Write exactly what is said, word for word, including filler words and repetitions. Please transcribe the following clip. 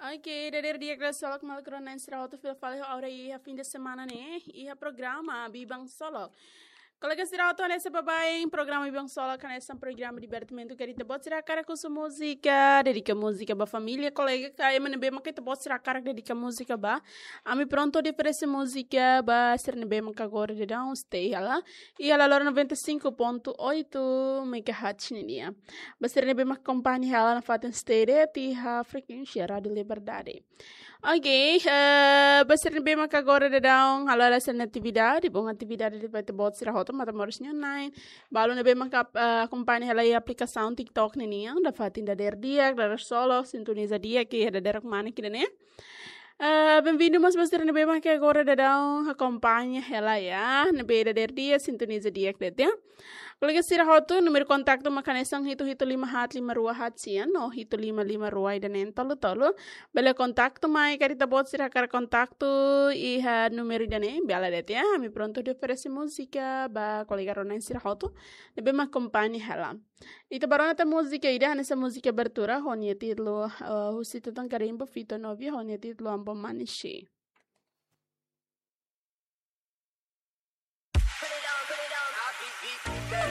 Oke, dadeer di'ak, dadeer solok, maluk rona-na'in sira hotu fila fali ho ha'u iha fin de semana ne'e, iha programa Biban Solok. Kolega sira hotu, hanesan baibain, programa Biban Solok hanesan programa divertimentu, ke ita-boot sira hakarak husu múzika, dedika múzika ba família, kolega ka ema ne'ebé maka ita-boot sira hakarak dedika múzika ba. Ami prontu hodi oferese múzika ba sira ne'ebé maka agora daudaun stay hela iha Laloran noventa e cinco ponto oito megahertz nian. Ba sira ne'ebé maka akompaña hela nafatin stay de'it iha frekuénsia Rádio Liberdade. Oke, eh, ba sira ne'ebé maka agora daudaun halo hela sira-nia atividade, bom atividade ba ita-boot sira hotu, Matamoros nian na'in. Balu ne'ebé maka, eh, akompaña hela iha aplikasaun TikTok ninian, nafatin dadeer di'ak, dadeer solok, sintoniza di'ak, ke dadeer kemana kita ne'e. Eh, bem-vindo mós ba sira ne'ebé maka agora daudaun akompaña hela iha, ne'ebé dadeer di'ak, sintoniza di'ak de'it, ya. Kolega sira hotu, númeru kontaktu maka hanesan hitu hitu lima haat lima rua haat sian, no hitu lima lima rua ida neen tolu tolu. Bele kontaktu mai, karik ita-boot sira hakarak kontaktu iha númeru ida ne'e, bele de'it, ya. Ami prontu hodi oferese múzika ba kolega rona-na'in sira hotu ne'ebé maka akompaña hela. Ita bá rona tan múzika ida, hanesan múzika abertura, ho nia títulu, eh, husi Tutan Karimbo, Fito Novia, ho nia títulu Ambo Manisi.